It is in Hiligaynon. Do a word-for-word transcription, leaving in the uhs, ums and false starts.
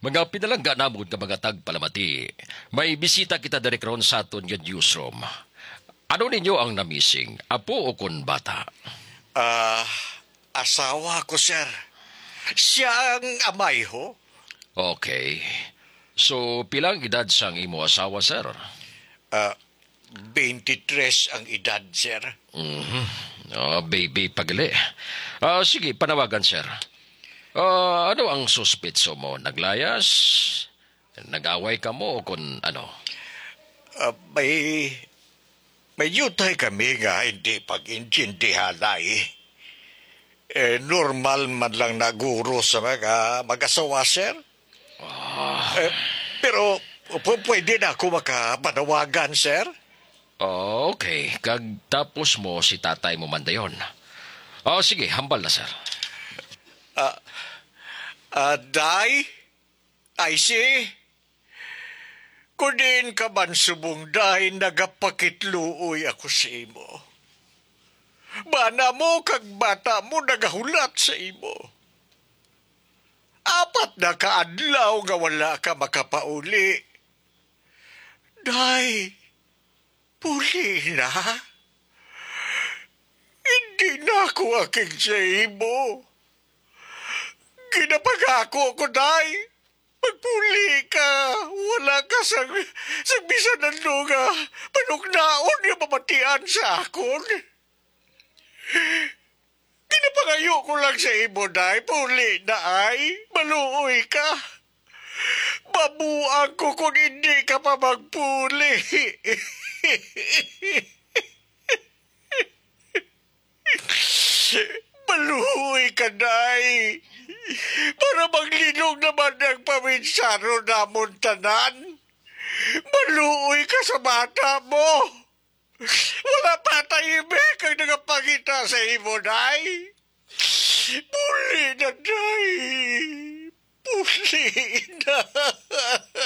Mga pinalangga namon nga mga tagpalamati, may bisita kita diri karon sa aton nga newsroom. Ano ninyo ang namising, apo o kon bata? Ah, asawa ko, sir. Siya ang amay ho. Okay. So, pila ang edad sang imo asawa, sir? Ah, twenty-three ang edad, sir. Mhm. Ah, baby pa gali. Ah, sige, panawagan, sir. Ah, ano ang suspetso mo? Naglayas? Nag-away kamo o kon ano? Ah, may, may yutay kami nga hindi pag-intindihanay. Eh, normal man lang na guro sa mga mag-asawa, sir. Ah. Eh, pero pu-, pwede na ako makapanawagan, sir? Oh, okay. Kag tapos mo si tatay mo man dayon. Oh, sige, hambal na, sir. Ah, ah, Day? Ay, si? Kung diin ka man subong, Day, nagapakitluoy ako sa imo. Bana mo kag bata mo nagahulat sa imo. Apat na ka adlaw nga wala ka makapauli. Day, puli na. Hindi na ako akig sa imo. Ginapangako ko, Day. Magpuli ka. Wala ka sang, sang bisan ano nga panuknaon nga mamatian sa akon. Ginapangayo ko lang sa imo, Day. Puli na ay. Maluoy ka. Mabuang ko kung hindi ka pa magpuli. Maluoy ka, Day. Para maglinog naman ang paminsaro namon tanan. Maluoy ka sa bata mo. Wala pa tahimik ang nagapangita sa imo, Day. Puli na, Day. Puli na.